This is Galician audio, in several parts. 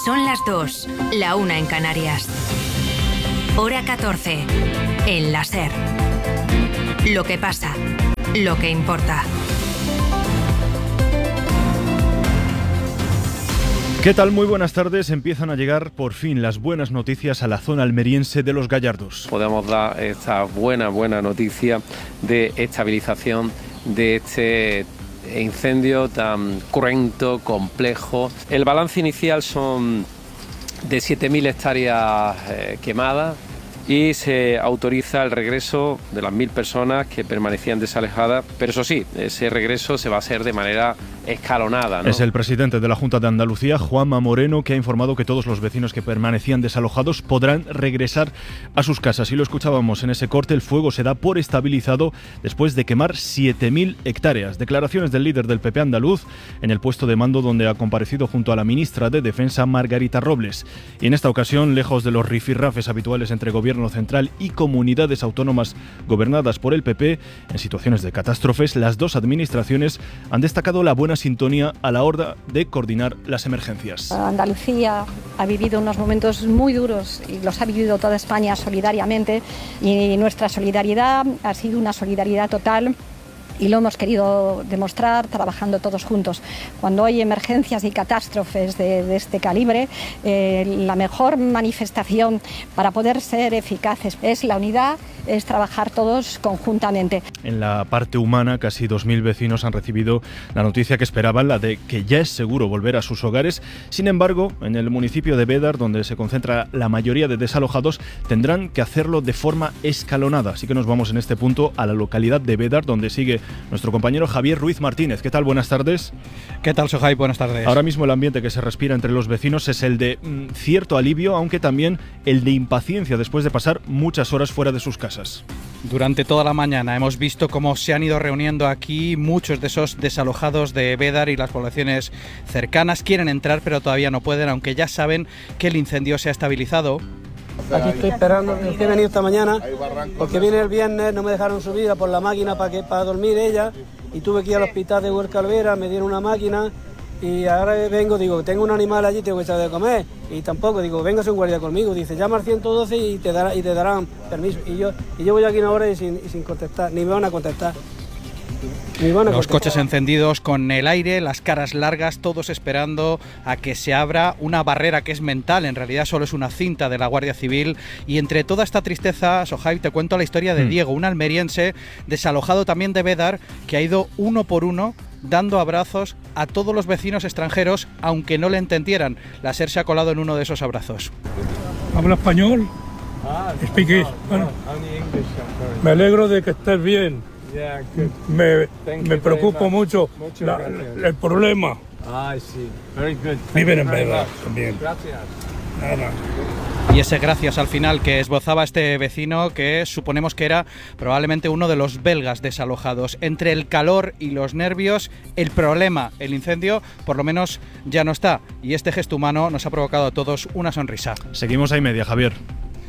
Son las 2, la 1 en Canarias. Hora 14, en la SER. Lo que pasa, lo que importa. ¿Qué tal? Muy buenas tardes. Empiezan a llegar por fin las buenas noticias a la zona almeriense de Los Gallardos. Podemos dar esta buena noticia de estabilización de este incendio tan cruento, complejo. El balance inicial son de 7.000 hectáreas quemadas y se autoriza el regreso de las 1.000 personas que permanecían desalojadas, pero eso sí, ese regreso se va a hacer de manera escalonada, ¿no? Es el presidente de la Junta de Andalucía, Juanma Moreno, que ha informado que todos los vecinos que permanecían desalojados podrán regresar a sus casas. Y lo escuchábamos en ese corte, el fuego se da por estabilizado después de quemar 7.000 hectáreas. Declaraciones del líder del PP andaluz en el puesto de mando donde ha comparecido junto a la ministra de Defensa, Margarita Robles. Y en esta ocasión, lejos de los rifirrafes habituales entre gobierno central y comunidades autónomas gobernadas por el PP, en situaciones de catástrofes, las dos administraciones han destacado la buena sintonía a la hora de coordinar las emergencias. Andalucía ha vivido unos momentos muy duros y los ha vivido toda España solidariamente, y nuestra solidaridad ha sido una solidaridad total. Y lo hemos querido demostrar trabajando todos juntos. Cuando hay emergencias y catástrofes de este calibre, la mejor manifestación para poder ser eficaces es la unidad, es trabajar todos conjuntamente. En la parte humana, casi 2.000 vecinos han recibido la noticia que esperaban, la de que ya es seguro volver a sus hogares. Sin embargo, en el municipio de Bédar, donde se concentra la mayoría de desalojados, tendrán que hacerlo de forma escalonada. Así que nos vamos en este punto a la localidad de Bédar, donde sigue nuestro compañero Javier Ruiz Martínez. ¿Qué tal? Buenas tardes. ¿Qué tal, Sohai? Buenas tardes. Ahora mismo el ambiente que se respira entre los vecinos es el de cierto alivio, aunque también el de impaciencia después de pasar muchas horas fuera de sus casas. Durante toda la mañana hemos visto cómo se han ido reuniendo aquí muchos de esos desalojados de Bédar y las poblaciones cercanas. Quieren entrar, pero todavía no pueden, aunque ya saben que el incendio se ha estabilizado. Aquí estoy esperando, he venido esta mañana porque vine el viernes, no me dejaron subir por la máquina para dormir ella, y tuve que ir al hospital de Huerca Alvera, me dieron una máquina y ahora vengo, digo, tengo un animal allí, tengo que echar de comer, y tampoco, digo, véngase un guardia conmigo, dice, llama al 112 y te darán permiso, y yo voy aquí una hora y sin contestar, ni me van a contestar. Los coches encendidos con el aire, las caras largas, todos esperando a que se abra una barrera que es mental, en realidad solo es una cinta de la Guardia Civil. Y entre toda esta tristeza, Sohai, te cuento la historia de Diego, un almeriense desalojado también de Bédar, que ha ido uno por uno dando abrazos a todos los vecinos extranjeros, aunque no le entendieran. La SER se ha colado en uno de esos abrazos. ¿Habla español? Speak. Bueno, me alegro de que estés bien. Me preocupa mucho el problema. Viven en Bédar también. Gracias. Nada. Y ese gracias al final que esbozaba este vecino, que suponemos que era probablemente uno de los belgas desalojados. Entre el calor y los nervios, el problema, el incendio, por lo menos ya no está. Y este gesto humano nos ha provocado a todos una sonrisa. Seguimos a y media, Javier.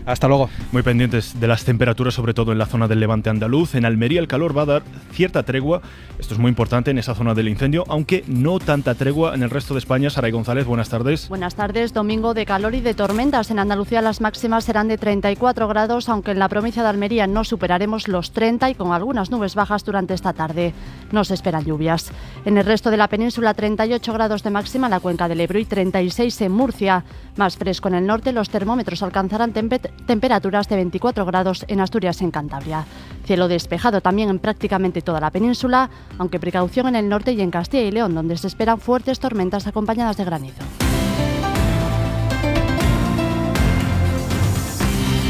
Hasta luego. Muy pendientes de las temperaturas, sobre todo en la zona del levante andaluz. En Almería el calor va a dar cierta tregua. Esto es muy importante en esa zona del incendio, aunque no tanta tregua en el resto de España. Saray González, buenas tardes. Buenas tardes. Domingo de calor y de tormentas. En Andalucía las máximas serán de 34 grados, aunque en la provincia de Almería no superaremos los 30 y con algunas nubes bajas durante esta tarde. No se esperan lluvias. En el resto de la península 38 grados de máxima en la cuenca del Ebro y 36 en Murcia. Más fresco en el norte, los termómetros alcanzarán temperaturas de 24 grados en Asturias y en Cantabria. Cielo despejado también en prácticamente toda la península, aunque precaución en el norte y en Castilla y León, donde se esperan fuertes tormentas acompañadas de granizo.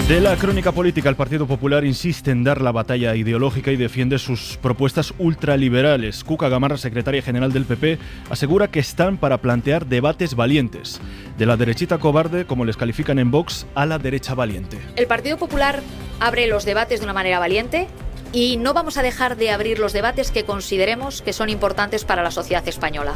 De la crónica política, el Partido Popular insiste en dar la batalla ideológica y defiende sus propuestas ultraliberales. Cuca Gamarra, secretaria general del PP, asegura que están para plantear debates valientes. De la derechita cobarde, como les califican en Vox, a la derecha valiente. El Partido Popular abre los debates de una manera valiente, y no vamos a dejar de abrir los debates que consideremos que son importantes para la sociedad española.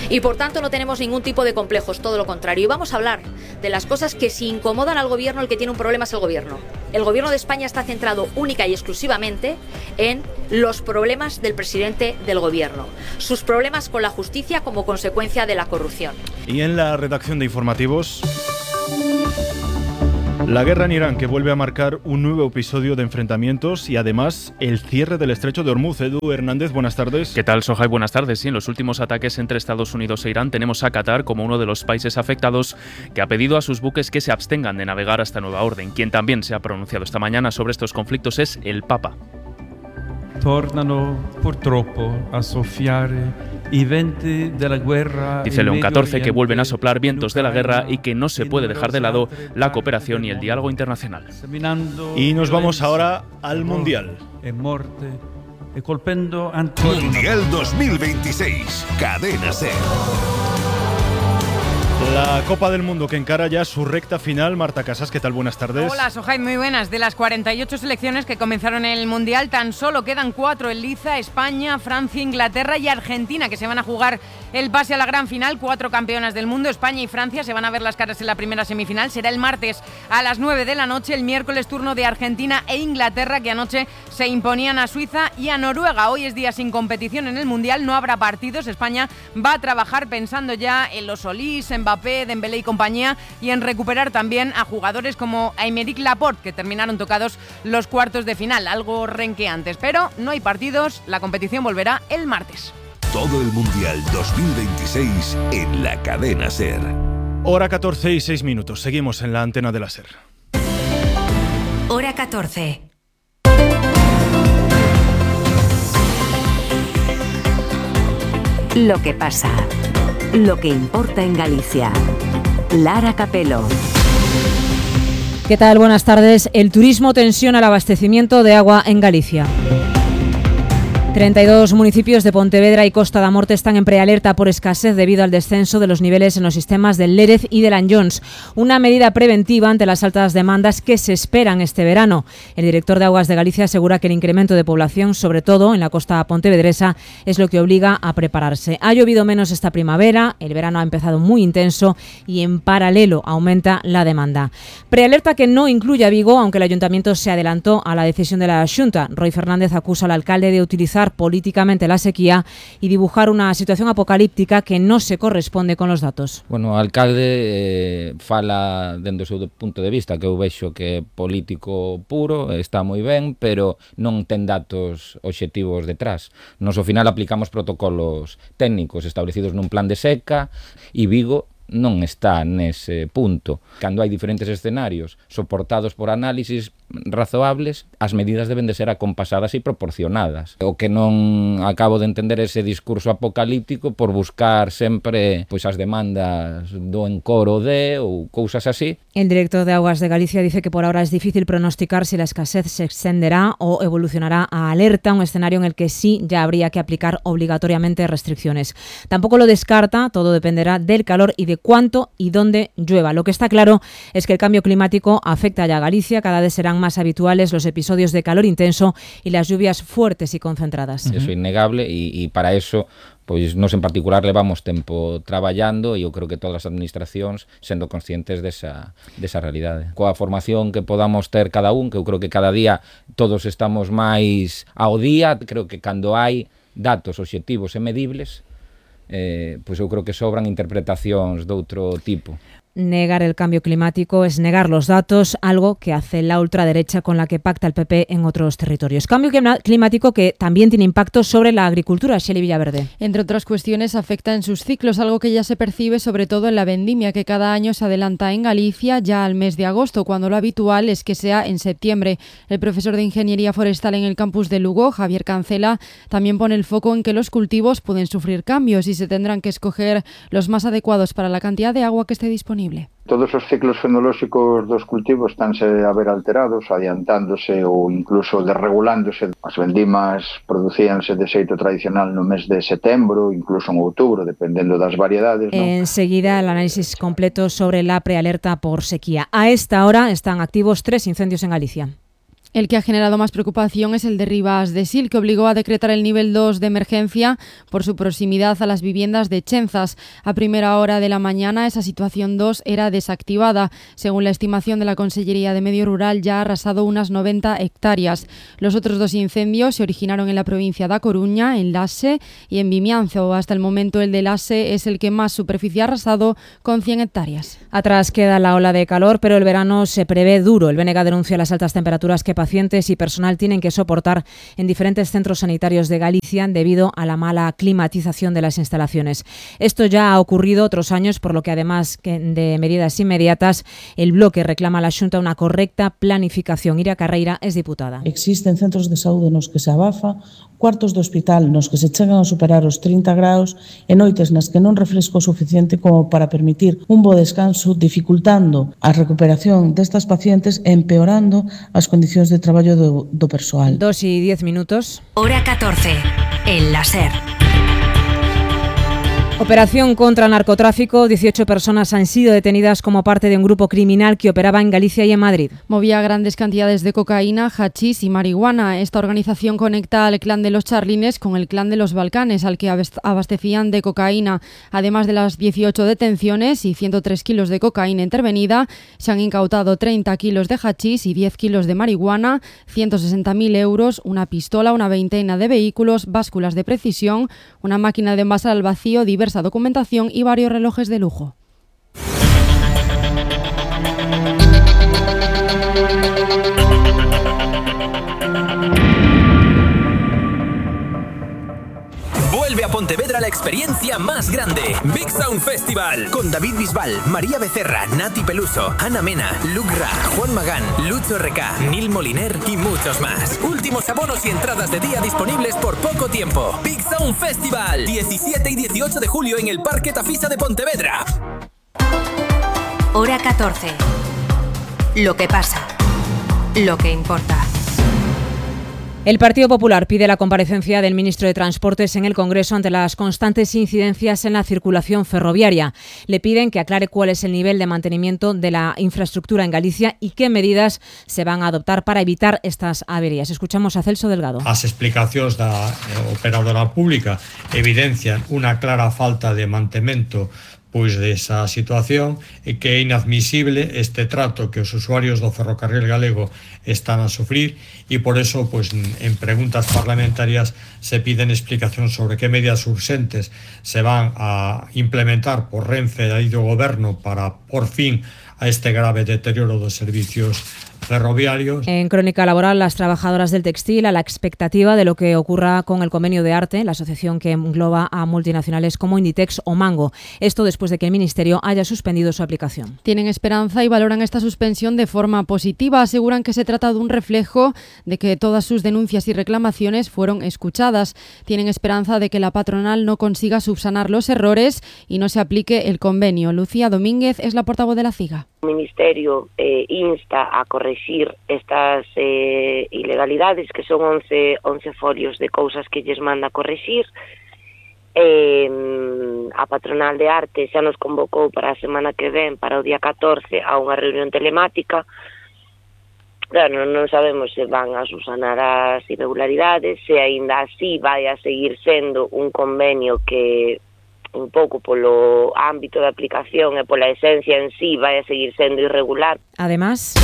Y por tanto no tenemos ningún tipo de complejos, todo lo contrario. Y vamos a hablar de las cosas que si incomodan al gobierno, el que tiene un problema es el gobierno. El gobierno de España está centrado única y exclusivamente en los problemas del presidente del gobierno, sus problemas con la justicia como consecuencia de la corrupción. Y en la redacción de informativos, la guerra en Irán, que vuelve a marcar un nuevo episodio de enfrentamientos y además el cierre del estrecho de Hormuz. Edu Hernández, buenas tardes. ¿Qué tal, Sohai? Buenas tardes. Sí, en los últimos ataques entre Estados Unidos e Irán tenemos a Qatar como uno de los países afectados, que ha pedido a sus buques que se abstengan de navegar hasta nueva orden. Quien también se ha pronunciado esta mañana sobre estos conflictos es el Papa. Tornano purtroppo a soffiare i venti della guerra. Dice León XIV que vuelven a soplar vientos de la guerra y que no se puede dejar de lado la cooperación y el diálogo internacional. Y nos vamos ahora al Mundial. Mundial 2026, Cadena SER. La Copa del Mundo que encara ya su recta final. Marta Casas, ¿qué tal? Buenas tardes. Hola, Sohai, muy buenas. De las 48 selecciones que comenzaron el Mundial, tan solo quedan 4 en liza: España, Francia, Inglaterra y Argentina, que se van a jugar el pase a la gran final. 4 campeonas del mundo, España y Francia, se van a ver las caras en la primera semifinal. Será el martes a las 9 de la noche. El miércoles turno de Argentina e Inglaterra, que anoche se imponían a Suiza y a Noruega. Hoy es día sin competición en el Mundial, no habrá partidos. España va a trabajar pensando ya en los Solís, en Mbappé, Dembélé y compañía, y en recuperar también a jugadores como Aymeric Laporte, que terminaron tocados los cuartos de final, algo renqueantes. Pero no hay partidos, la competición volverá el martes. Todo el Mundial 2026 en la Cadena SER. Hora 14 y 6 minutos. Seguimos en la antena de la SER. Hora 14. Lo que pasa. Lo que importa en Galicia. Lara Capelo. ¿Qué tal? Buenas tardes. El turismo tensiona el abastecimiento de agua en Galicia. 32 municipios de Pontevedra y Costa da Morte están en prealerta por escasez debido al descenso de los niveles en los sistemas del Lérez y del Anllóns, una medida preventiva ante las altas demandas que se esperan este verano. El director de Aguas de Galicia asegura que el incremento de población, sobre todo en la costa pontevedresa, es lo que obliga a prepararse. Ha llovido menos esta primavera, el verano ha empezado muy intenso y en paralelo aumenta la demanda. Prealerta que no incluye a Vigo, aunque el ayuntamiento se adelantó a la decisión de la Xunta. Roy Fernández acusa al alcalde de utilizar políticamente la sequía y dibujar una situación apocalíptica que no se corresponde con los datos. Bueno, o alcalde fala dende o seu punto de vista, que eu vexo que é político puro, está moi ben, pero non ten datos obxectivos detrás. Nos ao final aplicamos protocolos técnicos establecidos nun plan de seca e Vigo non está nese punto. Cando hai diferentes escenarios soportados por análisis razoables, as medidas deben de ser acompasadas e proporcionadas. O que non acabo de entender ese discurso apocalíptico por buscar sempre pois as demandas do encoro de ou cousas así. El director de Aguas de Galicia dice que por ahora es difícil pronosticar si la escasez se extenderá o evolucionará a alerta, un escenario en el que sí ya habría que aplicar obligatoriamente restricciones. Tampoco lo descarta, todo dependerá del calor y de cuánto y dónde llueva. Lo que está claro es que el cambio climático afecta ya a Galicia, cada vez serán más habituales los episodios de calor intenso y las lluvias fuertes y concentradas. Eso é innegable e para eso pois nos en particular levamos tempo traballando e eu creo que todas as administracións sendo conscientes desa realidade. Coa formación que podamos ter cada un, que eu creo que cada día todos estamos máis ao día, creo que cando hai datos obxectivos e medibles, pois eu creo que sobran interpretacións de outro tipo. Negar el cambio climático es negar los datos, algo que hace la ultraderecha con la que pacta el PP en otros territorios. Cambio climático que también tiene impacto sobre la agricultura. Shelley Villaverde. Entre otras cuestiones, afecta en sus ciclos, algo que ya se percibe sobre todo en la vendimia, que cada año se adelanta en Galicia ya al mes de agosto, cuando lo habitual es que sea en septiembre. El profesor de Ingeniería Forestal en el campus de Lugo, Javier Cancela, también pone el foco en que los cultivos pueden sufrir cambios y se tendrán que escoger los más adecuados para la cantidad de agua que esté disponible. Todos os ciclos fenolóxicos dos cultivos estánse a ver alterados, adiantándose ou incluso desregulándose. As vendimas producíanse de xeito tradicional no mes de setembro, incluso en outubro, dependendo das variedades, ¿no? Enseguida el análisis completo sobre la prealerta por sequía. A esta hora están activos 3 incendios en Galicia. El que ha generado más preocupación es el de Rivas de Sil, que obligó a decretar el nivel 2 de emergencia por su proximidad a las viviendas de Chenzas. A primera hora de la mañana, esa situación 2 era desactivada. Según la estimación de la Consellería de Medio Rural, ya ha arrasado unas 90 hectáreas. Los otros 2 incendios se originaron en la provincia de A Coruña, en Laxe y en Vimianzo. Hasta el momento, el de Laxe es el que más superficie ha arrasado, con 100 hectáreas. Atrás queda la ola de calor, pero el verano se prevé duro. El BNG denuncia las altas temperaturas que pacientes y personal tienen que soportar en diferentes centros sanitarios de Galicia debido a la mala climatización de las instalaciones. Esto ya ha ocurrido otros años, por lo que además de medidas inmediatas, el Bloque reclama a la Xunta una correcta planificación. Ira Carreira es diputada. Existen centros de saúde nos que se abafa, cuartos de hospital nos que se chegan a superar os 30 graus e noites nas que non refresco suficiente como para permitir un bo descanso, dificultando a recuperación destas pacientes e empeorando as condicións de traballo do persoal. 2:10. Hora 14, en la SER. Operación contra el narcotráfico. 18 personas han sido detenidas como parte de un grupo criminal que operaba en Galicia y en Madrid. Movía grandes cantidades de cocaína, hachís y marihuana. Esta organización conecta al clan de los Charlines con el clan de los Balcanes, al que abastecían de cocaína. Además de las 18 detenciones y 103 kilos de cocaína intervenida, se han incautado 30 kilos de hachís y 10 kilos de marihuana, 160.000 euros, una pistola, una veintena de vehículos, básculas de precisión, una máquina de envasar al vacío, diversa documentación y varios relojes de lujo. Vuelve a Pontevedra la experiencia más grande. Big Sound Festival. Con David Bisbal, María Becerra, Nati Peluso, Ana Mena, Luke Ra, Juan Magán, Lucho RK, Nil Moliner y muchos más. Últimos abonos y entradas de día disponibles por poco tiempo. Big Sound Festival. 17 y 18 de julio en el Parque Tafisa de Pontevedra. Hora 14. Lo que pasa. Lo que importa. El Partido Popular pide la comparecencia del ministro de Transportes en el Congreso ante las constantes incidencias en la circulación ferroviaria. Le piden que aclare cuál es el nivel de mantenimiento de la infraestructura en Galicia y qué medidas se van a adoptar para evitar estas averías. Escuchamos a Celso Delgado. As explicacións da operadora pública evidencian unha clara falta de mantemento desa situación e que é inadmisible este trato que os usuarios do ferrocarril galego están a sufrir e por eso en preguntas parlamentarias se piden explicacións sobre que medidas urxentes se van a implementar por Renfe e do Goberno para por fin a este grave deterioro dos servicios ferroviarios. En Crónica Laboral, las trabajadoras del textil a la expectativa de lo que ocurra con el convenio de Arte, la asociación que engloba a multinacionales como Inditex o Mango. Esto después de que el Ministerio haya suspendido su aplicación. Tienen esperanza y valoran esta suspensión de forma positiva. Aseguran que se trata de un reflejo de que todas sus denuncias y reclamaciones fueron escuchadas. Tienen esperanza de que la patronal no consiga subsanar los errores y no se aplique el convenio. Lucía Domínguez es la portavoz de la CIGA. El Ministerio insta a corregir estas ilegalidades, que son 11 folios de cousas que lles manda corregir. A patronal de arte xa nos convocou para a semana que ven, para o día 14, a unha reunión telemática. Claro, non sabemos se van a subsanar as irregularidades, se aínda así vai a seguir sendo un convenio que un pouco polo ámbito de aplicación e pola esencia en sí vai a seguir sendo irregular. Además,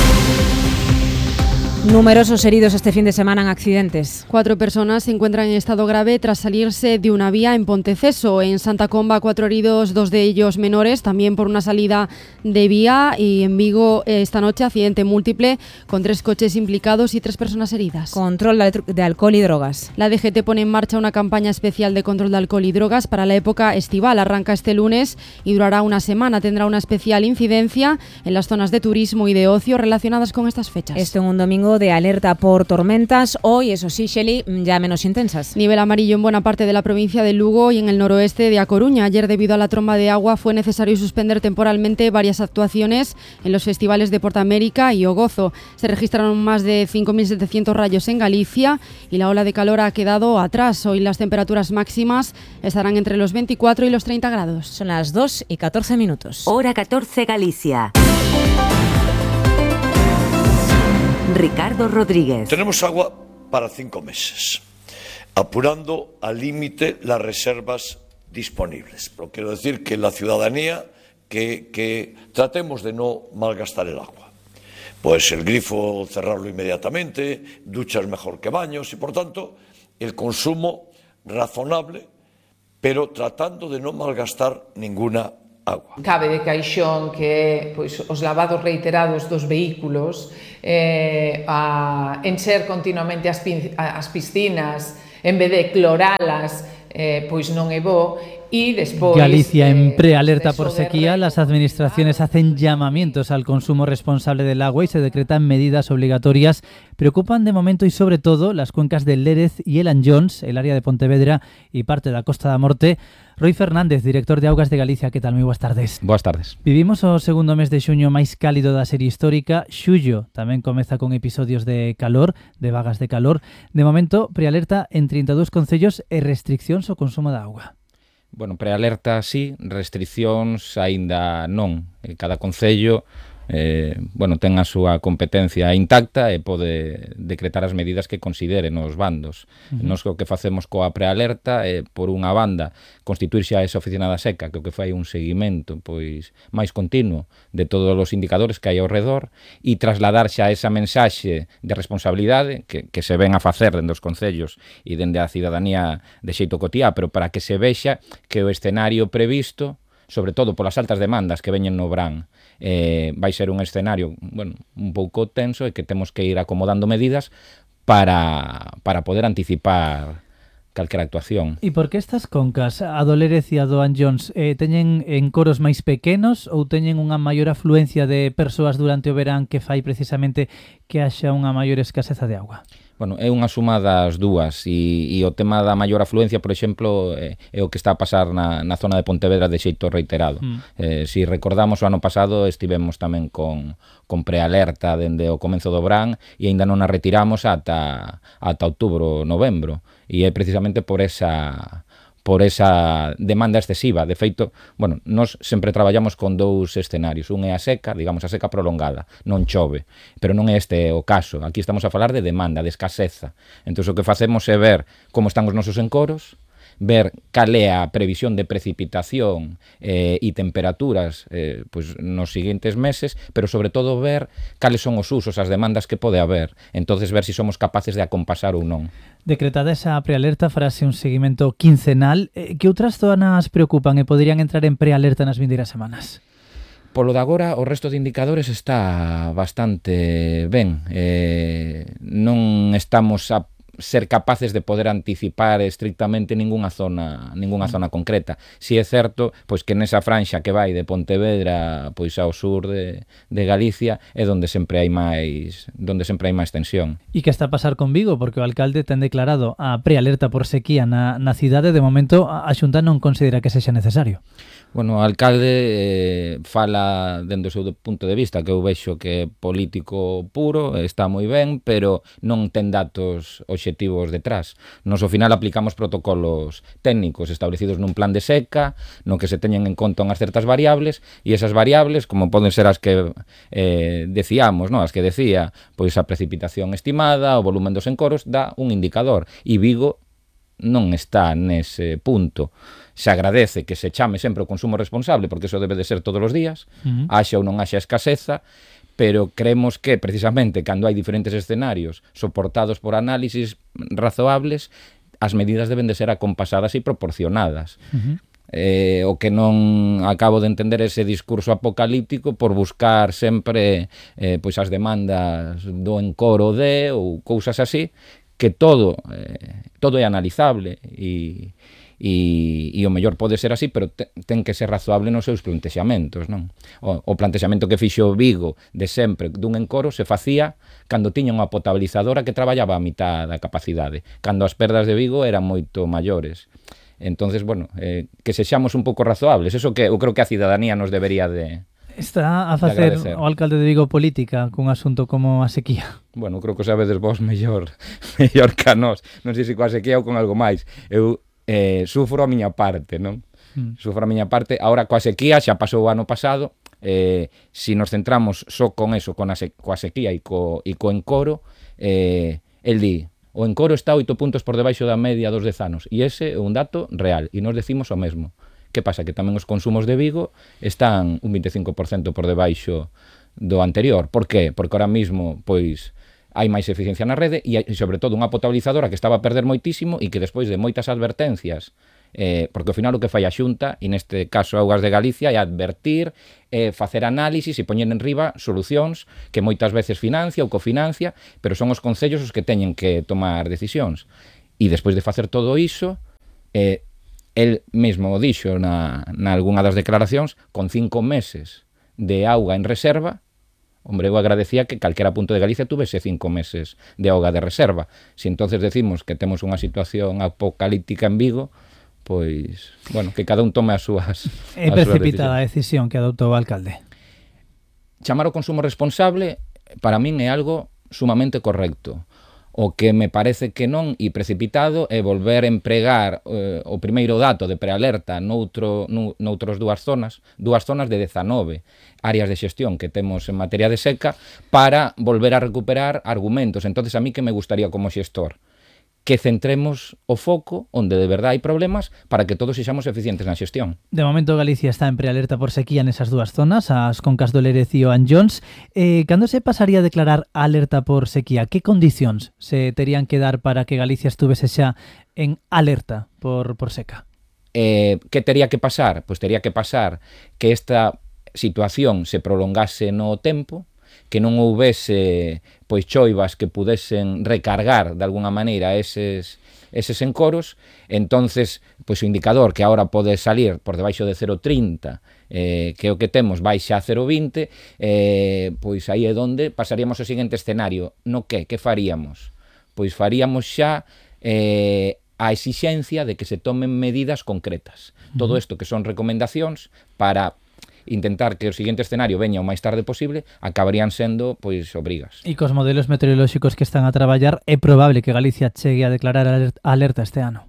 numerosos heridos este fin de semana en accidentes. 4 personas se encuentran en estado grave tras salirse de una vía en Ponteceso. En Santa Comba, 4 heridos, 2 de ellos menores, también por una salida de vía. Y en Vigo, esta noche, accidente múltiple con 3 coches implicados y 3 personas heridas. Control de alcohol y drogas. La DGT pone en marcha una campaña especial de control de alcohol y drogas para la época estival. Arranca este lunes y durará una semana. Tendrá una especial incidencia en las zonas de turismo y de ocio relacionadas con estas fechas. Esto en un domingo de alerta por tormentas. Hoy, eso sí, Shelley, ya menos intensas. Nivel amarillo en buena parte de la provincia de Lugo y en el noroeste de A Coruña. Ayer, debido a la tromba de agua, fue necesario suspender temporalmente varias actuaciones en los festivales de Portamérica y O Gozo. Se registraron más de 5.700 rayos en Galicia y la ola de calor ha quedado atrás. Hoy las temperaturas máximas estarán entre los 24 y los 30 grados. Son las 2:14. Hora 14, Galicia. Ricardo Rodríguez. Tenemos agua para 5 meses, apurando al límite las reservas disponibles. Pero quiero decir que la ciudadanía, que tratemos de no malgastar el agua. Pues el grifo cerrarlo inmediatamente, duchas mejor que baños y por tanto el consumo razonable, pero tratando de no malgastar ninguna agua. Cabe de caixón que pois, os lavados reiterados dos vehículos, a encher continuamente as piscinas en vez de cloralas, pois non é bo. Y después, Galicia en prealerta por sequía. Las administraciones hacen llamamientos al consumo responsable del agua y se decretan medidas obligatorias. Preocupan de momento y sobre todo las cuencas del Lérez y el Anllóns, el área de Pontevedra y parte da Costa da Morte. Roy Fernández, director de Augas de Galicia, que tal? Moi boas tardes. Boas tardes. Vivimos o segundo mes de xuño máis cálido da serie histórica. Xullo tamén comeza con episodios de calor, de vagas de calor. De momento, prealerta en 32 concellos e restriccións ao consumo da auga. Bueno, prealerta sí, restriccións aínda non. Cada concello ten a súa competencia intacta e pode decretar as medidas que considere nos bandos. Nos o que facemos coa prealerta é, por unha banda, constituir xa esa oficina da seca, que o que fai un seguimento pois máis continuo de todos os indicadores que hai ao redor e trasladar xa esa mensaxe de responsabilidade que se ven a facer dende os concellos e dende a cidadanía de xeito cotiá, pero para que se vexa que o escenario previsto, sobre todo polas altas demandas que veñen no verán, vai ser un escenario un pouco tenso e que temos que ir acomodando medidas para poder anticipar calquera actuación. E por que estas concas, a do Lérez e a do Anllóns, teñen encoros máis pequenos ou teñen unha maior afluencia de persoas durante o verán que fai precisamente que haxa unha maior escaseza de auga? Bueno, é unha suma das dúas e o tema da maior afluencia, por exemplo, é o que está a pasar na zona de Pontevedra de xeito reiterado. Si recordamos, o ano pasado estivemos tamén con prealerta dende o comenzo do verán e aínda non a retiramos ata outubro, novembro, e é precisamente por esa demanda excesiva. De feito, nós sempre traballamos con dous escenarios. Un é a seca, digamos, a seca prolongada, non chove, pero non é este o caso. Aquí estamos a falar de demanda, de escaseza. Entón, o que facemos é ver como están os nosos encoros, ver cal é a previsión de precipitación e temperaturas nos seguintes meses, pero sobre todo ver cales son os usos, as demandas que pode haber. Entonces ver se somos capaces de acompasar ou non. Decretada esa prealerta, farase un seguimento quincenal. Que outras zonas preocupan e poderían entrar en prealerta nas vindeiras semanas? Polo de agora, o resto de indicadores está bastante ben. Non estamos a ser capaces de poder anticipar estrictamente ningunha zona concreta. Si é certo, pois que nesa franxa que vai de Pontevedra pois ao sur de Galicia é onde sempre hai máis tensión. E que está a pasar con Vigo? Porque o alcalde ten declarado a prealerta por sequía na cidade. De momento, a Xunta non considera que sexa necesario. Bueno, o alcalde fala dende o seu punto de vista, que eu vexo que é político puro, está moi ben, pero non ten datos obxectivos detrás. Nos ao final aplicamos protocolos técnicos establecidos nun plan de seca, no que se teñen en conta unhas certas variables, e esas variables, como poden ser as que decíamos, as que decía, pois a precipitación estimada, o volumen dos encoros, dá un indicador, e Vigo non está nese punto. Se agradece que se chame sempre o consumo responsable, porque eso debe de ser todos os días, haxa ou non haxa escaseza, pero creemos que precisamente cando hai diferentes escenarios soportados por análisis razoables, as medidas deben de ser acompasadas e proporcionadas. O que non acabo de entender ese discurso apocalíptico por buscar sempre pois as demandas do encoro ou cousas así, que todo é analizable e o mellor pode ser así, pero ten que ser razoable nos seus plantexamentos, non? O plantexamento que fixo Vigo de sempre dun encoro se facía cando tiña unha potabilizadora que traballaba a mitad da capacidade, cando as perdas de Vigo eran moito maiores. Entonces, que sexamos un pouco razoables, eso que eu creo que a cidadanía nos debería de Está a facer o alcalde de Vigo política cun asunto como a sequía? Bueno, creo que sabedes vos mellor que a nós. Non sei se coa sequía ou con algo máis. Eu sufro a miña parte, non? Sufro a miña parte. Ahora coa sequía xa pasou o ano pasado, Si nos centramos só con eso, coa sequía e co encoro, el di, o encoro está 8 puntos por debaixo da media dos 10 anos, e ese é un dato real, e nos decimos o mesmo. Que pasa? Que tamén os consumos de Vigo están un 25% por debaixo do anterior. Por qué? Porque ahora mismo, pois, hai máis eficiencia na rede e, sobre todo, unha potabilizadora que estaba a perder moitísimo e que despois de moitas advertencias, porque ao final o que fai a Xunta, e neste caso Augas de Galicia, é advertir, facer análisis e poñer en riba solucións que moitas veces financia ou cofinancia, pero son os concellos os que teñen que tomar decisións. E despois de facer todo iso, el mesmo o dixo na algunha das declaracións, con 5 meses de auga en reserva, hombre, eu agradecía que calquera punto de Galicia tuvese 5 meses de auga de reserva. Si entonces decimos que temos unha situación apocalíptica en Vigo, pois, bueno, que cada un tome as súas É precipitada a decisión que adoptou o alcalde. Chamar o consumo responsable, para min é algo sumamente correcto. O que me parece que non e precipitado é volver a empregar o primeiro dato de prealerta noutros dúas zonas de 19 áreas de xestión que temos en materia de seca para volver a recuperar argumentos. Entonces, a mí que me gustaría como xestor que centremos o foco onde de verdade hai problemas para que todos sexamos eficientes na xestión. De momento Galicia está en prealerta por sequía nesas dúas zonas, as concas do Lérez e o Anllóns. Cando se pasaría a declarar alerta por sequía? Que condicións se terían que dar para que Galicia estuvese xa en alerta por seca? Que tería que pasar? Pois tería que pasar que esta situación se prolongase no tempo, que non houvese pois choivas que pudesen recargar de alguna maneira eses encoros. Entonces, pois o indicador que agora pode salir por debaixo de 0,30, que é o que temos, baixa a 0,20, pois aí é onde pasaríamos ao seguinte escenario. No que faríamos? Pois faríamos xa a exixencia de que se tomen medidas concretas. Todo isto que son recomendacións para intentar que o seguinte escenario veña o máis tarde posible, acabarían sendo, pois, obrigas. E cos modelos meteorolóxicos que están a traballar, é probable que Galicia chegue a declarar alerta este ano?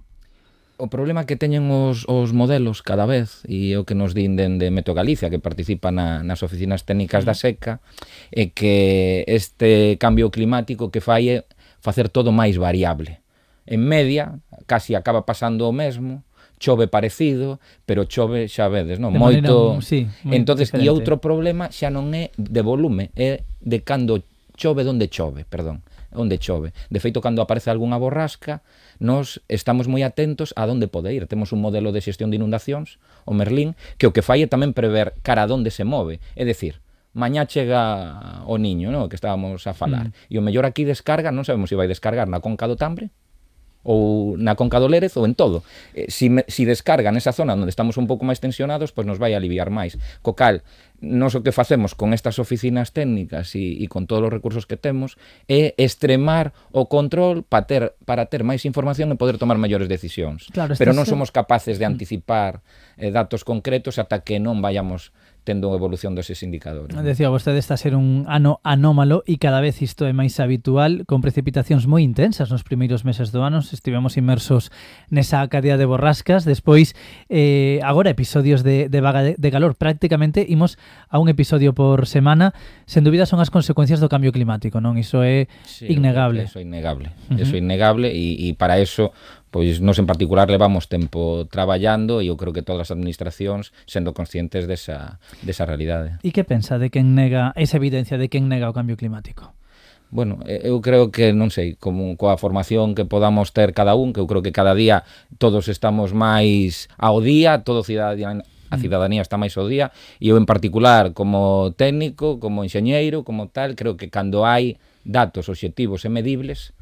O problema que teñen os modelos cada vez, e o que nos din dende Meteo Galicia, que participa nas oficinas técnicas da seca, é que este cambio climático que fai é facer todo máis variable. En media, casi acaba pasando o mesmo, chove parecido, pero chove, xa vedes, non? Moito. Sí, entonces, diferente. E outro problema xa non é de volume, é de cando chove, onde chove. De feito, cando aparece algunha borrasca, nós estamos moi atentos a onde pode ir. Temos un modelo de xestión de inundacións, o Merlín, que o que fai é tamén prever cara a onde se move. É dicir, mañá chega o Niño, non? Que estábamos a falar. E o mellor aquí descarga, non sabemos se vai descargar na conca do Tambre, ou na conca do Lérez ou en todo. Si descarga nesa zona onde estamos un pouco máis tensionados, pois nos vai aliviar máis. Co cal, nós o que facemos con estas oficinas técnicas e con todos os recursos que temos é extremar o control para ter máis información e poder tomar mellores decisións. Claro, pero non somos capaces de anticipar datos concretos ata que non vayamos tendo evolución deses indicadores. Decía vostede, está a ser un ano anómalo e cada vez isto é máis habitual, con precipitacións moi intensas nos primeiros meses do ano. Estivemos inmersos nesa cadea de borrascas, despois agora episodios de vaga de calor. Prácticamente imos a un episodio por semana. Sen dúbida son as consecuencias do cambio climático, non? Iso é innegable. Eso é innegable. Eso é innegable e para eso pois nos en particular levamos tempo traballando e eu creo que todas as administracións sendo conscientes desa realidade. E que pensa de quen nega esa evidencia de quen nega o cambio climático? Bueno, eu creo que, non sei, como coa formación que podamos ter cada un, que eu creo que cada día todos estamos máis ao día, a cidadanía está máis ao día, e eu en particular como técnico, como enxeñeiro, como tal, creo que cando hai datos obxectivos e medibles,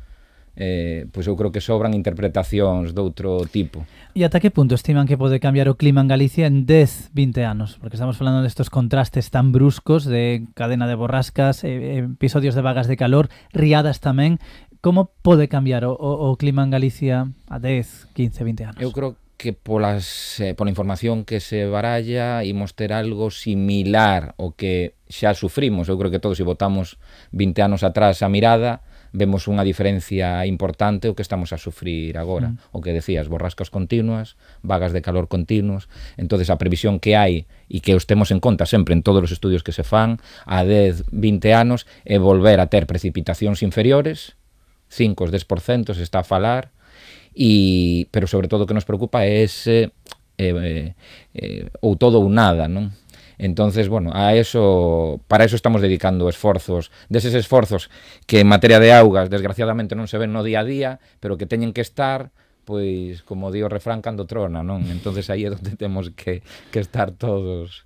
pois eu creo que sobran interpretacións doutro tipo. E ata que punto estiman que pode cambiar o clima en Galicia en 10, 20 anos? Porque estamos falando destos contrastes tan bruscos de cadena de borrascas, episodios de vagas de calor, riadas tamén. Como pode cambiar o clima en Galicia a 10, 15, 20 anos? Eu creo que pola información que se baralla imos ter algo similar ao que xa sufrimos. Eu creo que todos, se botamos 20 anos atrás a mirada, vemos unha diferencia importante o que estamos a sufrir agora. O que decías, borrascas continuas, vagas de calor continuos. Entonces a previsión que hai e que os temos en conta sempre en todos os estudios que se fan a 10, 20 anos é volver a ter precipitacións inferiores, 5 ou 10% se está a falar, pero sobre todo o que nos preocupa é ese ou todo ou nada, non? Entonces, bueno, para eso estamos dedicando esforzos, deses esforzos que en materia de augas, desgraciadamente non se ven no día a día, pero que teñen que estar, pois, como di o refrán, cando trona, non? Entonces aí é onde temos que estar todos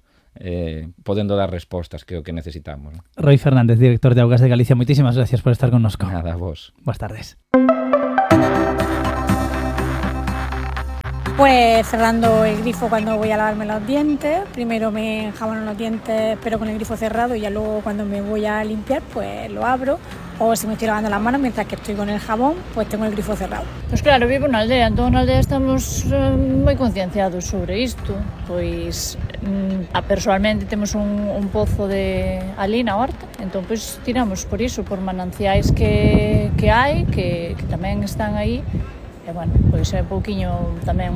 podendo dar respostas, que é o que necesitamos, ¿no? Roy Fernández, director de Augas de Galicia, moitísimas gracias por estar connosco. Nada, vos. Boas tardes. Pues cerrando el grifo cuando voy a lavarme los dientes. Primero me enjabono los dientes pero con el grifo cerrado y ya luego cuando me voy a limpiar pues lo abro. O si me estoy lavando las manos mientras que estoy con el jabón, pues tengo el grifo cerrado. Pois claro, vivo na aldea, entón na aldea estamos moi concienciados sobre isto. Pois personalmente temos un pozo ali na horta, entón pois tiramos por iso, por mananciais que hai, que tamén están aí. E bueno, pois é un pouquiño tamén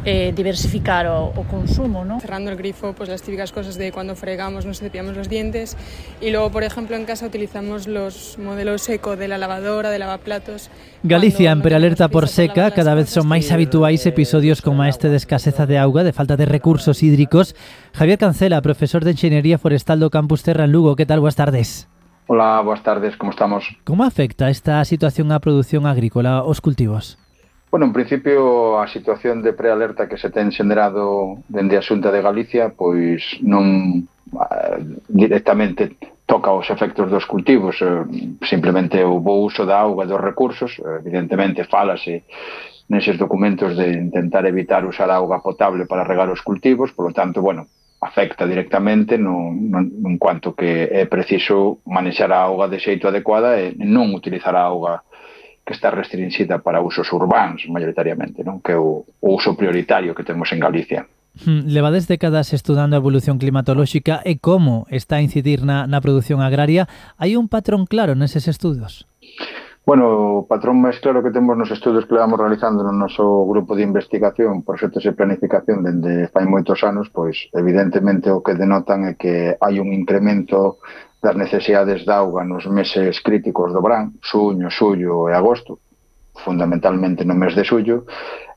diversificar o consumo, ¿no? Cerrando el grifo, pues las típicas cosas de cuando fregamos, nos cepillamos los dientes y luego, por ejemplo, en casa utilizamos los modelos eco de la lavadora, de lavaplatos. Galicia en prealerta por seca, cada vez son máis habituais episodios como este de escaseza de auga, de falta de recursos hídricos. Javier Cancela, profesor de Enxeñería Forestal do Campus Terra en Lugo, que tal? Boas tardes. Hola, boas tardes, como estamos? Como afecta esta situación á produción agrícola, aos cultivos? Bueno, en principio a situación de prealerta que se ten xenerado dende a Xunta de Galicia pois non directamente toca os efectos dos cultivos, simplemente o bo uso da auga e dos recursos. Evidentemente falase neses documentos de intentar evitar usar auga potable para regar os cultivos, polo tanto, bueno, afecta directamente en cuanto que é preciso manexar a auga de xeito adecuada e non utilizar a auga que está restringida para usos urbanos, maioritariamente, non? Que é o uso prioritario que temos en Galicia. Levades décadas estudando a evolución climatolóxica e como está a incidir na produción agraria. Hai un patrón claro neses estudos? Bueno, o patrón máis claro que temos nos estudos que levamos realizando no noso grupo de investigación, proxectos de planificación dende fai moitos anos, pois evidentemente o que denotan é que hai un incremento das necesidades de auga nos meses críticos do verán, xuño, xullo e agosto, fundamentalmente no mes de xullo,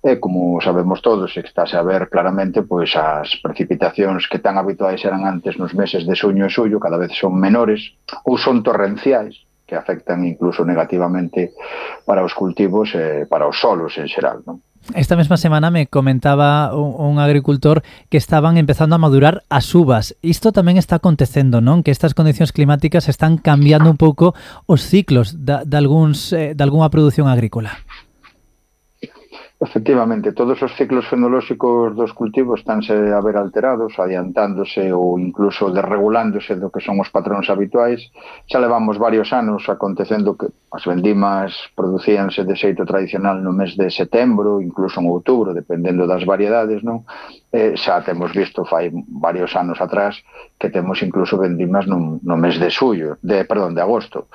e como sabemos todos, e estáse a ver claramente, pois as precipitacións que tan habituais eran antes nos meses de xuño e xullo cada vez son menores ou son torrenciais, que afectan incluso negativamente para os cultivos e para os solos en xeral, non? Esta mesma semana me comentaba un agricultor que estaban empezando a madurar as uvas. Isto tamén está acontecendo, non? Que estas condicións climáticas están cambiando un pouco os ciclos de algunha produción agrícola. Efectivamente, todos os ciclos fenolóxicos dos cultivos estánse a ver alterados, adiantándose ou incluso desregulándose do que son os patróns habituais. Xa levamos varios anos acontecendo que as vendimas producíanse de xeito tradicional no mes de setembro, incluso en outubro, dependendo das variedades, non? Xa temos visto fai varios anos atrás que temos incluso vendimas no mes de agosto.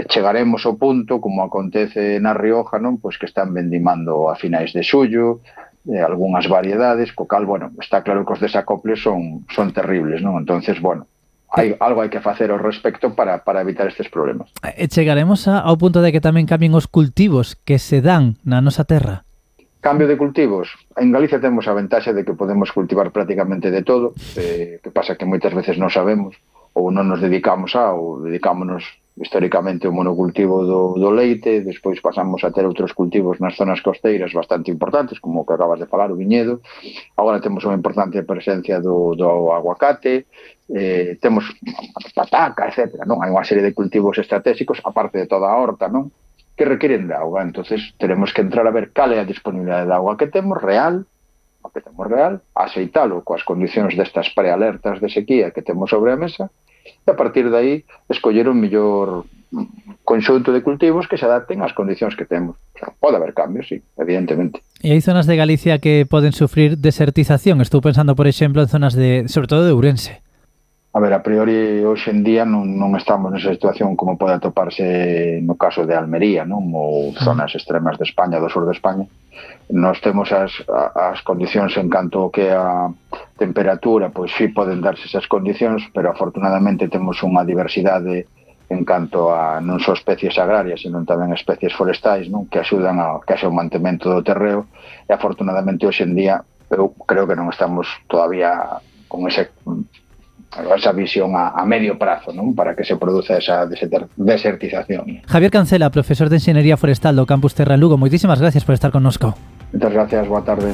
Chegaremos ao punto, como acontece na Rioja, non? Pois que están vendimando a finais de xullo, algunhas variedades, co cal, bueno, está claro que os desacoples son terribles, non? Entonces, bueno, algo hai que facer ao respecto para evitar estes problemas. E chegaremos ao punto de que tamén cambien os cultivos que se dan na nosa terra? Cambio de cultivos. En Galicia temos a ventaxa de que podemos cultivar prácticamente de todo, que pasa que moitas veces non sabemos, ou non nos dedicamos ou dedicámonos históricamente ao monocultivo do leite, despois pasamos a ter outros cultivos nas zonas costeiras bastante importantes, como o que acabas de falar, o viñedo. Agora temos unha importante presencia do aguacate, temos pataca, etc. Non? Hai unha serie de cultivos estratégicos, aparte de toda a horta, non? Que requieren de auga. Entonces tenemos que entrar a ver cal é a disponibilidade de auga que temos real, aceitalo coas condicións destas prealertas de sequía que temos sobre a mesa, e a partir de aí escoller un mellor conxunto de cultivos que se adapten ás condicións que temos. O sea, pode haber cambios, sí, evidentemente. E hai zonas de Galicia que poden sufrir desertización. Estou pensando, por exemplo, en zonas sobre todo de Ourense. A ver, a priori, hoxe en día non estamos nesa situación como pode atoparse no caso de Almería, non? Ou zonas extremas de España, do sur de España. Nós temos as condicións en canto que a temperatura, pois sí poden darse esas condicións, pero afortunadamente temos unha diversidade en canto a non só especies agrarias, sino tamén especies forestais, non? Que axudan a que haxa un mantemento do terreo, e afortunadamente hoxe en día eu creo que non estamos todavía con esa visión a medio prazo, non? Para que se produza esa desertización. Javier Cancela, profesor de Enxeñería Forestal do Campus Terra en Lugo, moitísimas gracias por estar connosco. Moitas gracias, boa tarde.